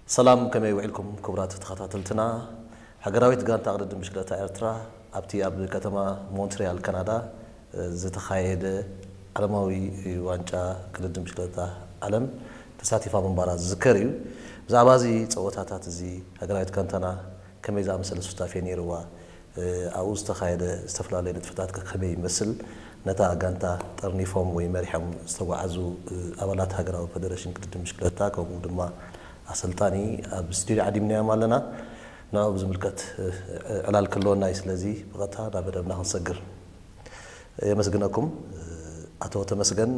ሰላም፣ ከመይ ውዒልኩም ክቡራት ተኸታተልትና? ሃገራዊት ጋንታ ቅድድም ብሽክለታ ኤርትራ ኣብቲ ኣብ ከተማ ሞንትሪያል ካናዳ ዝተኻየደ ዓለማዊ ዋንጫ ቅድድም ብሽክለታ ዓለም ተሳቲፋ ምንባራ ዝዝከር እዩ። ብዛዕባ እዚ ጸወታታት እዚ ሃገራዊት ጋንታና ከመይ ዝኣመሰለ ሱታፌ ነይርዋ? ኣብኡ ዝተኻየደ ዝተፈላለየ ንጥፈታት ከ ከመይ ይመስል? ነታ ጋንታ ጠርኒፎም ወይ መሪሖም ዝተጓዓዙ ኣባላት ሃገራዊ ፈደረሽን ቅድድም ብሽክለታ ከምኡ ድማ ኣሰልጣኒ ኣብ ስቱድዮ ዓዲምናዮም ኣለና። ንዕኡ ብዝምልከት ዕላል ክህልወና እዩ። ስለዚ ብቐጥታ ናብ መደብና ክንሰግር። የመስግነኩም። ኣቶ ተመስገን፣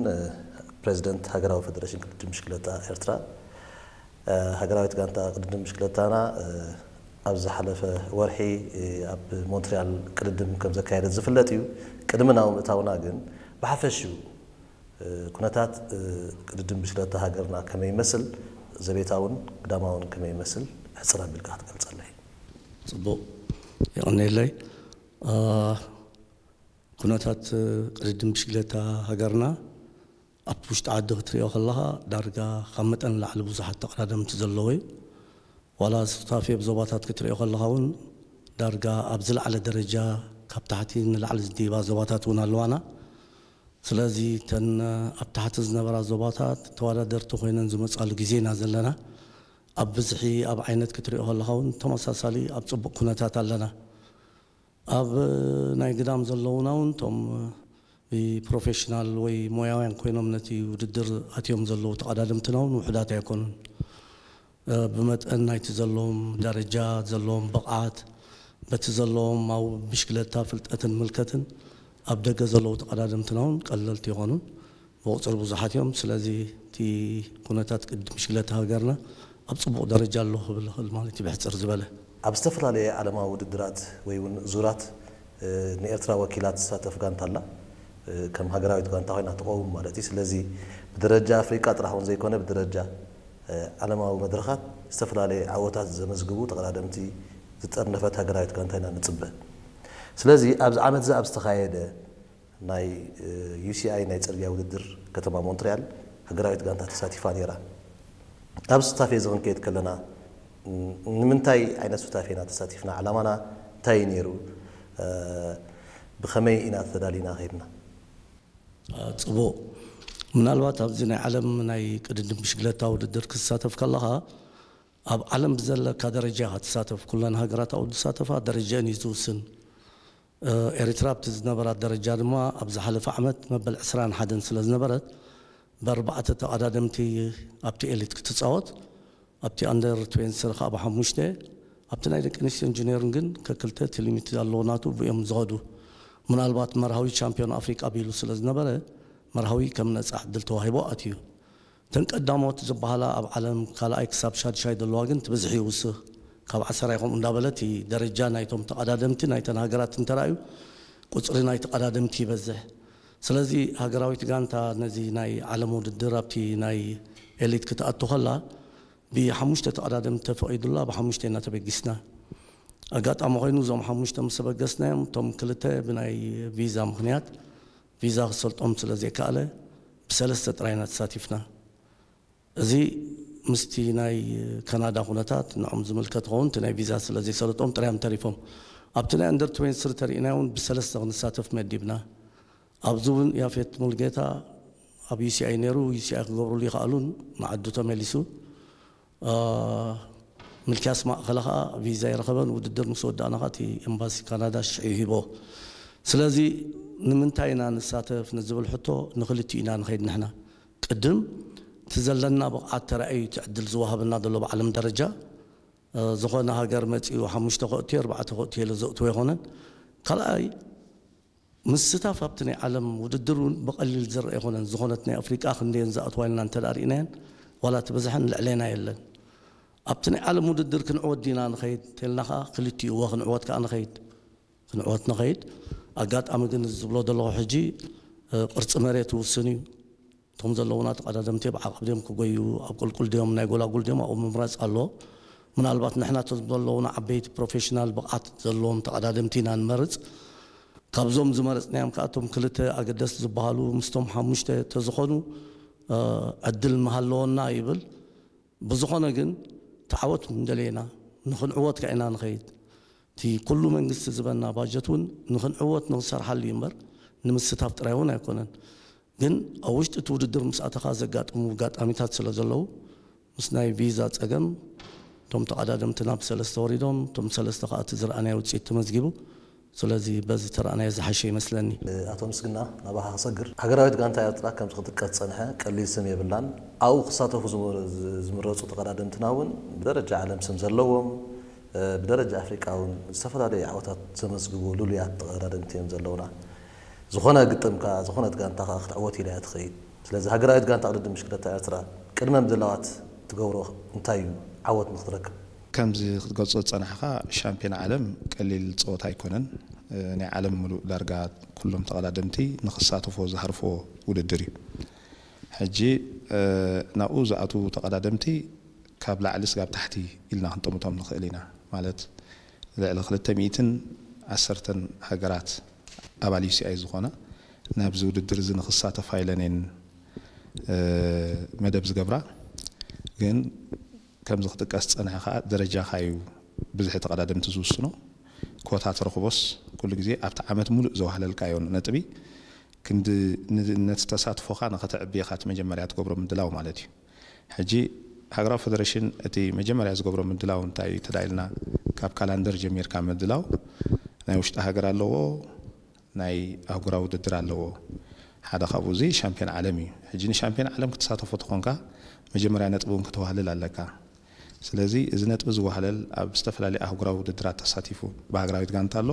ፕሬዚደንት ሃገራዊ ፈደረሽን ቅድድም ብሽክለታ ኤርትራ። ሃገራዊት ጋንታ ቅድድም ብሽክለታና ኣብ ዝሓለፈ ወርሒ ኣብ ሞንትሪያል ቅድድም ከም ዘካየደት ዝፍለጥ እዩ። ቅድሚ ናብ ምእታውና ግን ብሓፈሽኡ ኩነታት ቅድድም ብሽክለታ ሃገርና ከመይ ይመስል፣ ዘቤታውን ግዳማውን ከመይ ይመስል ሕጽር ኣቢልካ ክትገልጸለይ? ጽቡቕ፣ የቐንየለይ። ኩነታት ቅድድም ብሽክለታ ሃገርና ኣብ ውሽጢ ዓዲ ክትሪኦ ከለኻ ዳርጋ ካብ መጠን ንላዕሊ ብዙሓት ተቐዳደምቲ ዘለዎ እዩ። ዋላ ሱታፌ ብዞባታት ክትሪኦ ከለኻ እውን ዳርጋ ኣብ ዝለዓለ ደረጃ ካብ ታሕቲ ንላዕሊ ዝድይባ ዞባታት እውን ኣለዋና። ስለዚ እተን ኣብ ታሕቲ ዝነበራ ዞባታት ተወዳደርቲ ኮይነን ዝመጻሉ ግዜ ኢና ዘለና። ኣብ ብዝሒ ኣብ ዓይነት ክትሪኦ ከለኻ እውን ተመሳሳሊ ኣብ ጽቡቕ ኩነታት ኣለና። ኣብ ናይ ግዳም ዘለዉና እውን እቶም ብፕሮፌሽናል ወይ ሞያውያን ኮይኖም ነቲ ውድድር ኣትዮም ዘለዉ ተቐዳደምትና እውን ውሑዳት ኣይኮኑን። ብመጠን ናይቲ ዘለዎም ደረጃ፣ ዘለዎም ብቕዓት፣ በቲ ዘለዎም ኣብ ብሽክለታ ፍልጠትን ምልከትን ኣብ ደገ ዘለዉ ተቐዳደምትና እውን ቀለልቲ ይኾኑን ብቑፅሪ ብዙሓት እዮም። ስለዚ እቲ ኩነታት ቅድድም ብሽክለታ ሃገርና ኣብ ፅቡቕ ደረጃ ኣሎ ክብል ይኽእል ማለት እዩ ብሕፅር ዝበለ። ኣብ ዝተፈላለየ ዓለማዊ ውድድራት ወይ እውን ዙራት ንኤርትራ ወኪላ ትሳተፍ ጋንታ ኣላ። ከም ሃገራዊት ጋንታ ኮይና ትቐውም ማለት እዩ። ስለዚ ብደረጃ ኣፍሪቃ ጥራሕ እውን ዘይኮነ ብደረጃ ዓለማዊ መድረኻት ዝተፈላለየ ዓወታት ዘመዝግቡ ተቐዳደምቲ ዝጠርነፈት ሃገራዊት ጋንታ ኢና ንጽበ። ስለዚ ኣብዚ ዓመት እዚ ኣብ ዝተኻየደ ናይ ዩሲኣይ ናይ ጽርግያ ውድድር ከተማ ሞንትሪያል ሃገራዊት ጋንታ ተሳቲፋ ነይራ። ኣብ ሱታፌ እዚ ክንከይድ ከለና ንምንታይ ዓይነት ሱታፌ ኢና ተሳቲፍና? ዓላማና እንታይ እዩ ነይሩ? ብኸመይ ኢና ተዳሊና ከይድና? ጽቡቕ። ምናልባት ኣብዚ ናይ ዓለም ናይ ቅድድም ብሽክለታ ውድድር ክትሳተፍ ከለኻ ኣብ ዓለም ብዘለካ ደረጃ ኢኻ ትሳተፍ። ኩለን ሃገራት ኣብኡ ዝሳተፋ ደረጃን እዩ ዝውስን። ኤሪትራ ኣብቲ ዝነበራት ደረጃ ድማ ኣብ ዝሓለፈ ዓመት መበል ዕስራን ሓደን ስለ ዝነበረት ብኣርባዕተ ተቐዳደምቲ ኣብቲ ኤሊት ክትጻወት ኣብቲ ኣንደር ትዌንቲ ስሪ ከዓ ብሓሙሽተ ኣብቲ ናይ ደቂ ኣንስትዮ ኢንጂነርን ግን ከክልተ እቲ ሊሚት ኣለዎ ናቱ ብእዮም ዝኸዱ። ምናልባት መርሃዊ ቻምፒዮን ኣፍሪቃ ቢሉ ስለ ዝነበረ መርሃዊ ከም ነፃ ዕድል ተዋሂቦ ኣትዩ። እተን ቀዳሞት ዝበሃላ ኣብ ዓለም ካልኣይ ክሳብ ሻድሻይ ዘለዋ ግን ትብዝሒ ይውስኽ ካብ ዓሰራ ይኹም እንዳበለት ደረጃ ናይቶም ተቐዳደምቲ ናይተን ሃገራት እንተራእዩ ቁፅሪ ናይ ተቐዳደምቲ ይበዝሕ። ስለዚ ሃገራዊት ጋንታ ነዚ ናይ ዓለም ውድድር ኣብቲ ናይ ኤሊት ክትኣቱ ከላ ብሓሙሽተ ተቐዳደምቲ ተፈቒዱላ ብሓሙሽተ ኢና ተበጊስና። ኣጋጣሚ ኮይኑ እዞም ሓሙሽተ ምስ ተበገስናዮም እቶም ክልተ ብናይ ቪዛ ምኽንያት ቪዛ ክሰልጦም ስለ ዘይከኣለ ብሰለስተ ጥራይና ተሳቲፍና። እዚ ምስቲ ናይ ካናዳ ኩነታት ንዖም ዝምልከት ኸውን እቲ ናይ ቪዛ ስለ ዘይሰለጦም ጥራዮም ተሪፎም። ኣብቲ ናይ ኣንደር ትዌንቲ ስሪ ተሪእና እውን ብሰለስተ ክንሳተፍ መዲብና። ኣብዚ እውን ያፌት ሙልጌታ ኣብ ዩሲኣይ ነይሩ ዩሲኣይ ክገብሩሉ ይኽኣሉን ንዓዱ ተመሊሱ። ምልክያስ ማእኸለ ከዓ ቪዛ ይረኸበን ውድድር ምስ ወዳእና ከዓ እቲ ኤምባሲ ካናዳ ሽዑ ሂቦ። ስለዚ ንምንታይ ኢና ንሳተፍ ንዝብል ሕቶ ንክልቲኡ ኢና ንኸይድ ንሕና። ቅድም እቲ ዘለና ብቕዓት ተራእዩ እቲ ዕድል ዝወሃበና ዘሎ ብዓለም ደረጃ ዝኾነ ሃገር መፂኡ ሓሙሽተ ከእትዮ ኣርባዕተ ከእትዮ ኢለ ዘእትዎ ኣይኮነን። ካልኣይ ምስታፍ ኣብቲ ናይ ዓለም ውድድር እውን ብቐሊል ዝረአ ኣይኮነን። ዝኾነት ናይ ኣፍሪቃ ክንደየን ዝኣትዋ ኢልና እንተ ርኢናየን ዋላ እቲ ብዝሐን ልዕሌና የለን። ኣብቲ ናይ ዓለም ውድድር ክንዕወት ዲና ንኸይድ ተልና ከዓ ክልቲኡ እወ ክንዕወት ከዓ ንኸይድ ክንዕወት ንኸይድ። ኣጋጣሚ ግን እዚ ዝብሎ ዘለኹ ሕጂ ቅርፂ መሬት ውስን እዩ። እቶም ዘለውና ተቐዳደምቲ ብዓቐብ ድዮም ክጎዩ ኣብ ቁልቁል ድዮም ናይ ጎላጉል ድዮም ኣብኡ ምምራፅ ኣሎ። ምናልባት ንሕና እቶም ዘለውና ዓበይቲ ፕሮፌሽናል ብቕዓት ዘለዎም ተቐዳደምቲ ኢና ንመርፅ። ካብዞም ዝመረፅናዮም ከዓ እቶም ክልተ ኣገደስቲ ዝበሃሉ ምስቶም ሓሙሽተ ተዝኾኑ ዕድል ምሃለወና ይብል። ብዝኾነ ግን እቲ ዓወት እንደለየና ንኽንዕወት ከ ኢና ንኸይድ። እቲ ኩሉ መንግስቲ ዝበና ባጀት እውን ንኽንዕወት ንኽሰርሓሉ እዩ እምበር ንምስታፍ ጥራይ እውን ኣይኮነን። ግን ኣብ ውሽጢ እቲ ውድድር ምስ ኣተኻ ዘጋጥሙ ኣጋጣሚታት ስለ ዘለዉ ምስ ናይ ቪዛ ጸገም እቶም ተቐዳደምትና ብሰለስተ ወሪዶም፣ እቶም ሰለስተ ከኣ እቲ ዝረኣናዮ ውጽኢት ተመዝጊቡ። ስለዚ በዚ ተረኣናዮ ዝሓሸ ይመስለኒ። ኣቶ ምስግና፣ ናባኻ ክሰግር። ሃገራዊት ጋንታ ኤርትራ ከምዚ ክጥቀስ ዝጸንሐ ቀሊል ስም የብላን። ኣብኡ ክሳተፉ ዝመ-፣ ዝ-፣ ዝምረጹ ተቐዳደምትና እውን ብደረጃ ዓለም ስም ዘለዎም፣ እ፣ ብደረጃ ኣፍሪቃ እውን ዝተፈላለዩ ዓወታት ዘመዝግቡ ልሉያት ተቐዳደምቲ እዮም ዘለውና። ዝኾነ ግጥም ከኣ፣ ዝኾነት ጋንታ ከኣ ክትዕወት ኢላ እያ ትኸይድ። ስለዚ ሃገራዊት ጋንታ ቅድድም ብሽክለታ ኤርትራ ቅድመ ምድላዋት ትገብሮ እንታይ እዩ ዓወት ንክትረክብ? ከምዚ ክትገልጾ ዝጸናሕካ ሻምፒዮን ዓለም ቀሊል ጸወታ ኣይኮነን። እ፣ ናይ ዓለም ምሉእ ዳርጋ ኩሎም ተቐዳደምቲ ንኽሳተፎ ዝሃርፎ ውድድር እዩ። ሕጂ፣ እ፣ ናብኡ ዝኣትዉ ተቐዳደምቲ ካብ ላዕሊ ስጋብ ታሕቲ ኢልና ክንጠምቶም ንኽእል ኢና። ማለት ልዕሊ ክልተ ሚእትን ዓሰርተን ሃገራት ኣባል ዩ ሲ ኣይ ዝኾና ናብዚ ውድድር እዚ ንኽሳተፋ ኢለን እየን፣ እ፣ መደብ ዝገብራ። ግን ከምዚ ክጥቀስ ዝጸንሐ ከኣ ደረጃኻ እዩ ብዝሒ ተቐዳደምቲ ዝውስኖ። ኮታ ትረኽቦስ ኩሉ ግዜ ኣብቲ ዓመት ሙሉእ ዘዋህለልካዮ ነጥቢ ክንዲ ን-፣ ነቲ ተሳትፎኻ ንኸተዕቢ ኢኻ እቲ መጀመርያ ትገብሮ ምድላው ማለት እዩ። ሕጂ ሃገራዊ ፈደረሽን እቲ መጀመርያ ዝገብሮ ምድላው እንታይ እዩ ተዳኢልና፣ ካብ ካላንደር ጀሚርካ ምድላው ናይ ውሽጢ ሃገር ኣለዎ፣ ናይ ኣህጉራዊ ውድድር ኣለዎ። ሓደ ካብኡ እዚ ሻምፒዮን ዓለም እዩ። ሕጂ ንሻምፒዮን ዓለም ክትሳተፎ ተኾንካ መጀመርያ ነጥቢ እውን ክትዋህልል ኣለካ። ስለዚ እዚ ነጥቢ ዝዋህለል ኣብ ዝተፈላለዩ ኣህጉራዊ ውድድራት ተሳቲፉ ብሃገራዊት ጋንታ ኣሎ።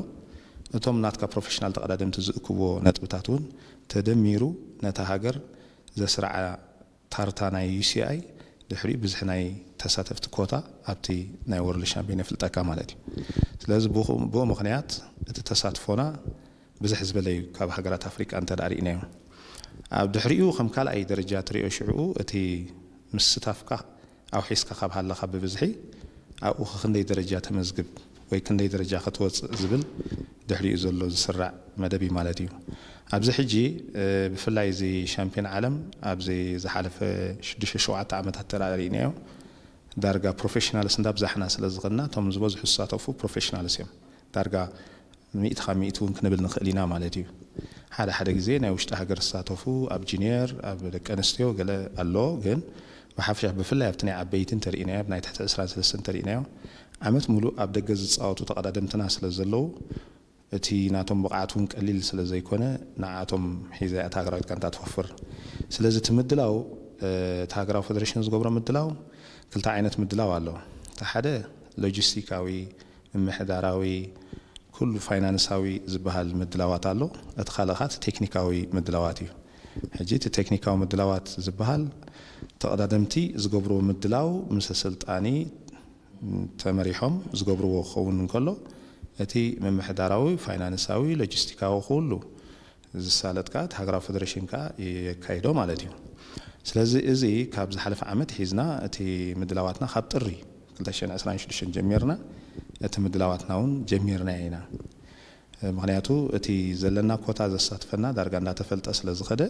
እቶም ናትካ ፕሮፌሽናል ተቐዳደምቲ ዝእክብዎ ነጥብታት እውን ተደሚሩ ነታ ሃገር ዘስርዓ ታርታ ናይ ዩ ሲ ኣይ ድሕሪኡ ብዝሒ ናይ ተሳተፍቲ ኮታ ኣብቲ ናይ ወርልድ ሻምፒዮን የፍልጠካ ማለት እዩ። ስለዚ ብኡ፣ ብኡ ምኽንያት እቲ ተሳትፎና ብዝሕ ዝበለ እዩ ካብ ሃገራት ኣፍሪቃ እንተ ደኣ ርኢናዮ። ኣብ ድሕሪኡ ከም ካልኣይ ደረጃ ትሪኦ ሽዕኡ እቲ ምስታፍካ ኣውሒስካ ካብ ሃለኻ ብብዝሒ ኣብኡ ክንደይ ደረጃ ተመዝግብ ወይ ክንደይ ደረጃ ክትወፅእ ዝብል ድሕሪኡ ዘሎ ዝስራዕ መደብ እዩ ማለት እዩ። ኣብዚ ሕጂ፣ እ፣ ብፍላይ እዚ ሻምፒዮን ዓለም ኣብዚ ዝሓለፈ ሽዱሽተ ሸውዓተ ዓመታት ተራእሪእናዮ ዳርጋ ፕሮፌሽናልስ እንዳብዛሕና ስለ ዝኸድና እቶም ዝበዝሑ ዝሳተፉ ፕሮፌሽናልስ እዮም። ዳርጋ ሚእቲ ካብ ሚእቲ እውን ክንብል ንኽእል ኢና ማለት እዩ። ሓደ ሓደ ግዜ ናይ ውሽጢ ሃገር ዝሳተፉ ኣብ ጁኒየር፣ ኣብ ደቂ ኣንስትዮ ገለ ኣሎ፣ ግን ብሓፈሻ ብፍላይ ኣብቲ ናይ ዓበይቲ እንተሪእናዮ፣ ኣብ ናይ ትሕቲ ዕስራን ሰለስተን እንተሪእናዮ፣ ዓመት ሙሉእ ኣብ ደገ ዝጻወቱ ተቐዳደምትና ስለ ዘለዉ፣ እቲ ናቶም ብቕዓት እውን ቀሊል ስለ ዘይኮነ፣ ንዓቶም ሒዛ እያ እታ ሃገራዊት ጋንታ ትወፍር። ስለዚ እቲ ምድላው፣ እ፣ እቲ ሃገራዊ ፈደረሽን ዝገብሮ ምድላው ክልተ ዓይነት ምድላው ኣሎ። እቲ ሓደ ሎጂስቲካዊ፣ ምምሕዳራዊ፣ ኩሉ ፋይናንሳዊ ዝበሃል ምድላዋት ኣሎ። እቲ ካልእ ኸኣ እቲ ቴክኒካዊ ምድላዋት እዩ። ሕጂ እቲ ቴክኒካዊ ምድላዋት ዝበሃል ተቐዳደምቲ ዝገብርዎ ምድላው ምስ ኣሰልጣኒ ተመሪሖም ዝገብርዎ ክኸውን እንከሎ፣ እቲ ምምሕዳራዊ፣ ፋይናንሳዊ፣ ሎጂስቲካዊ ኩሉ ዝሳለጥ ከኣ እቲ ሃገራዊ ፈደረሽን ከኣ የካይዶ ማለት እዩ። ስለዚ እዚ ካብ ዝሓለፈ ዓመት ሒዝና እቲ ምድላዋትና ካብ ጥሪ ክልተ ሽሕን ዕስራን ሽዱሽተን ጀሚርና እቲ ምድላዋትና እውን ጀሚርናዮ ኢና። ምኽንያቱ እቲ ዘለና ኮታ ዘሳትፈና ዳርጋ እንዳተፈልጠ ስለ ዝኸደ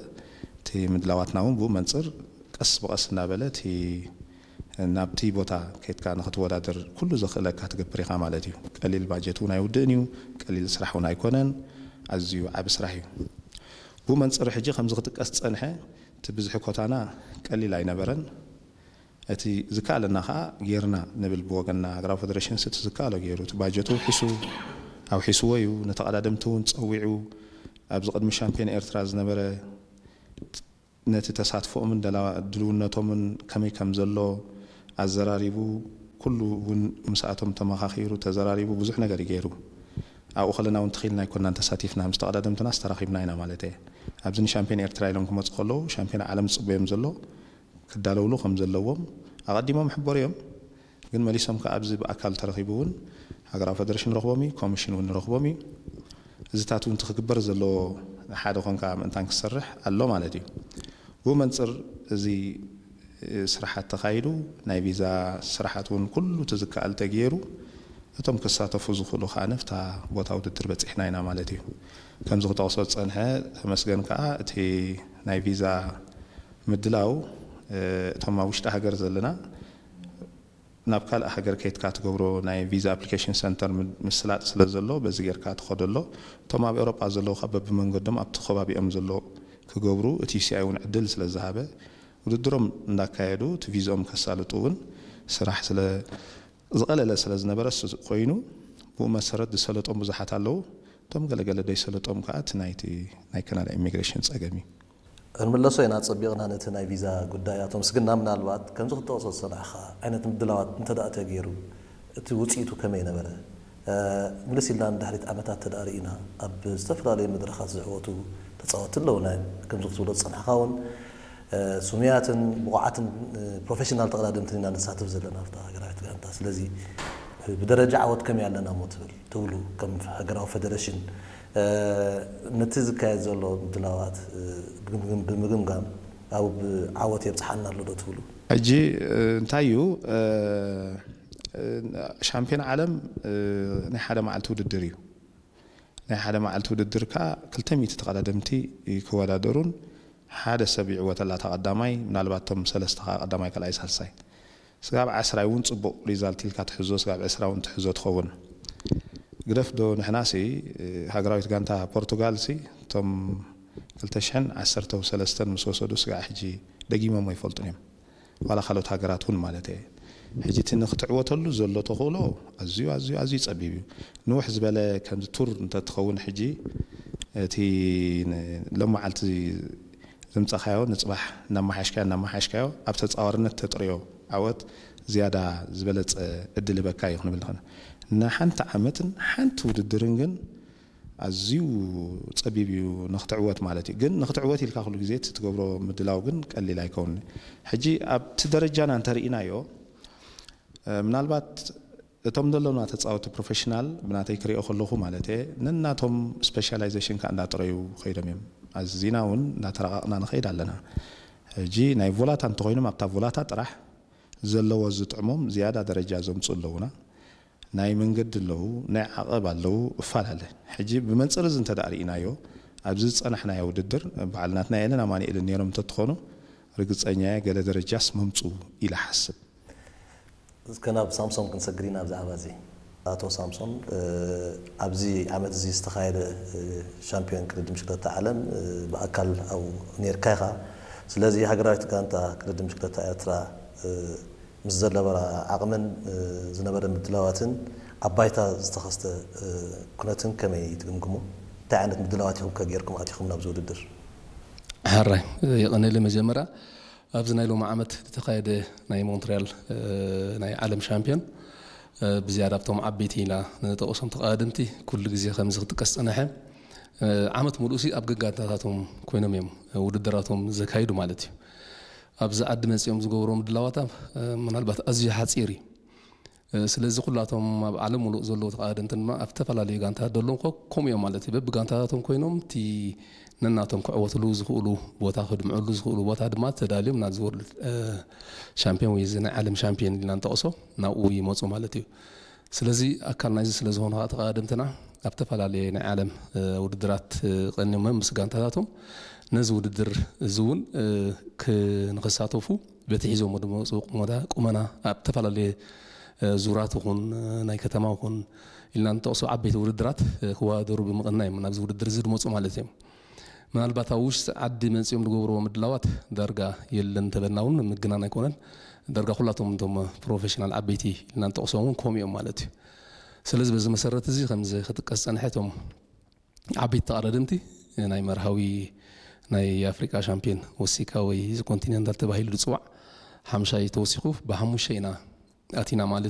እቲ ምድላዋትና እውን ብኡ መንጽር ቀስ ብቐስ እናበለ እቲ ናብቲ ቦታ ከይድካ ንኽትወዳደር ኩሉ ዘኽእለካ ትገብር ኢኻ ማለት እዩ። ቀሊል ባጀት እውን ኣይውድእን እዩ፣ ቀሊል ስራሕ እውን ኣይኮነን፣ ኣዝዩ ዓቢ ስራሕ እዩ። ብኡ መንጽር ሕጂ ከምዚ ክጥቀስ ዝጸንሐ እቲ ብዝሒ ኮታና ቀሊል ኣይነበረን። እቲ ዝከኣለና ኸኣ ጌርና ንብል ብወገንና። ሃገራዊ ፈደረሽንስ እቲ ዝከኣሎ ገይሩ፣ እቲ ባጀቱ ኣውሒሱ፣ ኣውሒስዎ እዩ። ንተቐዳደምቲ እውን ጸዊዑ፣ ኣብዚ ቅድሚ ሻምፒዮን ኤርትራ ዝነበረ ነቲ ተሳትፎኦምን ደላ-፣ ድልውነቶምን ከመይ ከም ዘሎ ኣዘራሪቡ፣ ኩሉ እውን ምስኣቶም ተመኻኺሩ፣ ተዘራሪቡ፣ ብዙሕ ነገር እዩ ገይሩ። ኣብኡ ከለና እውን ተኺልና ኣይኮንናን ተሳቲፍና፣ ምስ ተቐዳደምትናስ ተራኺብና ኢና ማለት እየ። ኣብዚ ንሻምፒዮን ኤርትራ ኢሎም ክመጹ ከለዉ፣ ሻምፒዮን ዓለም ዝጽበዮም ዘሎ፣ ክዳለውሉ ከም ዘለዎም ኣቐዲሞም ይሕበሩ እዮም። ግን መሊሶም ከኣ ኣብዚ ብኣካል ተረኺቡ እውን ሃገራዊ ፈደረሽን ንረኽቦም እዩ፣ ኮሚሽን እውን ንረኽቦም እዩ። እዚታት እውን እቲ ክግበር ዘለዎ ሓደ ኮንካ ምእንታን ክሰርሕ ኣሎ ማለት እዩ። ብኡ መንጽር እዚ ስራሓት ተኻይዱ፣ ናይ ቪዛ ስራሓት እውን ኩሉ እቲ ዝከኣል ተገይሩ፣ እቶም ክሳተፉ ዝኽእሉ ከኣ ነፍታ ቦታ ውድድር በጺሕና ኢና ማለት እዩ። ከምዚ ክጠቕሶ ዝጸንሐ ተመስገን ከኣ እቲ ናይ ቪዛ ምድላው፣ እ፣ እቶም ኣብ ውሽጢ ሃገር ዘለና ናብ ካልእ ሃገር ከይትካ ትገብሮ ናይ ቪዛ ኣፕሊኬሽን ሰንተር ምስላጥ ስለ ዘሎ በዚ ጌርካ ትኸዶ ኣሎ። እቶም ኣብ ኤውሮጳ ዘለዉ ካብ በብመንገዶም ኣብቲ ከባቢኦም ዘሎ ክገብሩ እቲ ዩሲኣይ እውን ዕድል ስለ ዝሃበ ውድድሮም እንዳካየዱ እቲ ቪዝኦም ከሳልጡ እውን ስራሕ ስለ ዝቐለለ ስለ ዝነበረ እሱ ኮይኑ ብኡ መሰረት ዝሰለጦም ብዙሓት ኣለዉ። እቶም ገለገለ ደይሰለጦም ከዓ እቲ ናይቲ ናይ ካናዳ ኢሚግሬሽን ፀገም እዩ። ክንምለሶ ኢና ጸቢቕና ነቲ ናይ ቪዛ ጉዳይ ኣቶ ምስግና። ምናልባት ከምዚ ክትጠቕሶ ዝሰናዕኻ ዓይነት ምድላዋት እንተ ደኣ ተገይሩ እቲ ውጽኢቱ ከመይ ነበረ? ምልስ ኢልና ንድሕሪት ዓመታት ተደኣ ርኢና ኣብ ዝተፈላለዩ መድረኻት ዝዕወቱ ተጻወቲ ኣለዉ። ናይ ከምዚ ክትብሎ ዝጸናሕኻ እውን ስሙያትን ብቑዓትን ፕሮፌሽናል ተቐዳደምትን ኢና ንሳተፍ ዘለና ኣብታ ሃገራዊት ጋንታ። ስለዚ ብደረጃ ዓወት ከመይ ኣለና እሞ ትብል ትብሉ ከም ሃገራዊ ፌደሬሽን ነቲ ዝካየድ ዘሎ ምድላዋት ብምግምጋም ኣብ ዓወት የብፅሓና ኣሎ ዶ ትብሉ? ሕጂ እንታይ እዩ ሻምፒዮን ዓለም ናይ ሓደ መዓልቲ ውድድር እዩ። ናይ ሓደ መዓልቲ ውድድር ከዓ ክልተ ሚእቲ ተቐዳደምቲ ክወዳደሩን ሓደ ሰብ ይዕወተላ ተቐዳማይ ምናልባት ቶም ሰለስተ ከዓ ቀዳማይ ካልኣይ ሳልሳይ ስጋብ ዓስራይ እውን ፅቡቕ ሪዛልት ኢልካ ትሕዞ ስጋብ ዕስራ እውን ትሕዞ ትኸውን ግደፍ ዶ ንሕናሲ ሃገራዊት ጋንታ ፖርቱጋል ሲ እቶም ክልተ ሽሕን ዓሰርተ ሰለስተን ምስ ወሰዱ ስጋዕ ሕጂ ደጊሞም ኣይፈልጡን እዮም ዋላ ካልኦት ሃገራት እውን ማለት እየ ሕጂ እቲ ንክትዕወተሉ ዘሎ ተኽእሎ ኣዝዩ ኣዝዩ ኣዝዩ ፀቢብ እዩ ንውሕ ዝበለ ከምዚ ቱር እንተትኸውን ሕጂ እቲ ሎመዓልቲ ዘምፀኻዮ ንፅባሕ እናመሓሽካዮ እናመሓሽካዮ ኣብ ተፃዋርነት ተጥርዮ ዓወት ዝያዳ ዝበለፀ እድል ህበካ እዩ ክንብል ንኽእል ንሓንቲ ዓመትን ሓንቲ ውድድርን ግን ኣዝዩ ፀቢብ እዩ ንክትዕወት ማለት እዩ ግን ንክትዕወት ኢልካ ኩሉ ግዜ እቲ ትገብሮ ምድላው ግን ቀሊል ኣይከውን ሕጂ ኣብቲ ደረጃና እንተርኢናዮ ምናልባት እቶም ዘሎና ተፃወቲ ፕሮፌሽናል ብናተይ ክሪኦ ከለኹ ማለት እየ ነናቶም ስፔሻላይዜሽን ከዓ እንዳጥረዩ ከይዶም እዮም ኣዚና እውን እንዳተረቃቅና ንኸይድ ኣለና ሕጂ ናይ ቮላታ እንተኮይኖም ኣብታ ቮላታ ጥራሕ ዘለዎ ዝጥዕሞም ዝያዳ ደረጃ ዘምፁ ኣለውና ናይ መንገዲ ኣለዉ ናይ ዓቐብ ኣለዉ እፈላለ ሕጂ ብመንፅር እዚ እንተ ርኢናዮ ኣብዚ ዝፀናሕናዮ ውድድር በዓል ናትና ኤለን ኣማኒኤልን ነይሮም እንተትኾኑ ርግፀኛ ገለ ደረጃስ መምፁ ኢለ ሓስብ እስከ ናብ ሳምሶን ክንሰግር ኢና ብዛዕባ እዚ ኣቶ ሳምሶን ኣብዚ ዓመት እዚ ዝተኻየደ ሻምፒዮን ቅድድም ሽክለታ ዓለም ብኣካል ኣብኡ ነርካ ኢኻ ስለዚ ሃገራዊት ጋንታ ቅድድም ሽክለታ ኤርትራ ምስ ዘነበራ ዓቕምን ዝነበረ ምድላዋትን ኣብ ባይታ ዝተኸስተ ኩነትን ከመይ ትግምግሞ? እንታይ ዓይነት ምድላዋት ኢኹም ከ ጌርኩም ኣቲኹም ናብዚ ውድድር? ሕራይ የቐነለ መጀመርያ ኣብዚ ናይ ሎሚ ዓመት ዝተኻየደ ናይ ሞንትሪያል ናይ ዓለም ሻምፒዮን ብዝያዳ ኣብቶም ዓበይቲ ኢና ንጠቕሶም ተቐዳደምቲ ኩሉ ግዜ ከምዚ ክጥቀስ ጸነሐ ዓመት ሙሉእ ሲ ኣብ ገጋንታታቶም ኮይኖም እዮም ውድድራቶም ዘካይዱ ማለት እዩ ኣብዚ ዓዲ መፂኦም ዝገብሮ ምድላዋታ ምናልባት ኣዝዩ ሓፂር እዩ ስለዚ ኩላቶም ኣብ ዓለም ሙሉእ ዘለዉ ተቐዳደምቲ ድማ ኣብ ዝተፈላለዩ ጋንታት ደለዉ ከምኡ እዮም ማለት እዩ በቢ ጋንታታቶም ኮይኖም እቲ ነናቶም ክዕወትሉ ዝኽእሉ ቦታ ክድምዕሉ ዝኽእሉ ቦታ ድማ ተዳልዮም ናብዚ ወርልድ ሻምፒዮን ወይ እዚ ናይ ዓለም ሻምፒዮን ኢልና ንጠቕሶ ናብኡ ይመፁ ማለት እዩ ስለዚ ኣካል ናይዚ ስለ ዝኾኑ ከዓ ተቐዳደምትና ኣብ ተፈላለየ ናይ ዓለም ውድድራት ቀኒሞም ምስ ጋንታታቶም ነዚ ውድድር እዚ እውን ንክሳተፉ በቲ ሒዞሞ ዝመፁ ቁመና ኣብ ዝተፈላለየ ዙራት ይኹን ናይ ከተማ ይኹን ኢልና ንጠቕሶ ዓበይቲ ውድድራት ክወዳደሩ ብምቕና እዮም ናብዚ ውድድር እዚ ዝመፁ ማለት እዮም ምናልባት ኣብ ውሽጢ ዓዲ መፂኦም ዝገብርዎ ምድላዋት ዳርጋ የለን እንተበልና እውን ምግናን ኣይኮነን ዳርጋ ኩላቶም እቶም ፕሮፌሽናል ዓበይቲ ኢልና ንጠቕሶም እውን ከምኡ እዮም ማለት እዩ ስለዚ በዚ መሰረት እዚ ከምዚ ክጥቀስ ዝፀንሐ እቶም ዓበይቲ ተቐዳደምቲ ናይ መርሃዊ ናይ ኣፍሪቃ ሻምፒዮን ወሲካ ወይ እዚ ኮንቲኔንታል ተባሂሉ ዝፅዋዕ ሓምሻይ ተወሲኹ ብሓሙሽተ ኢና ኣቲና ማለት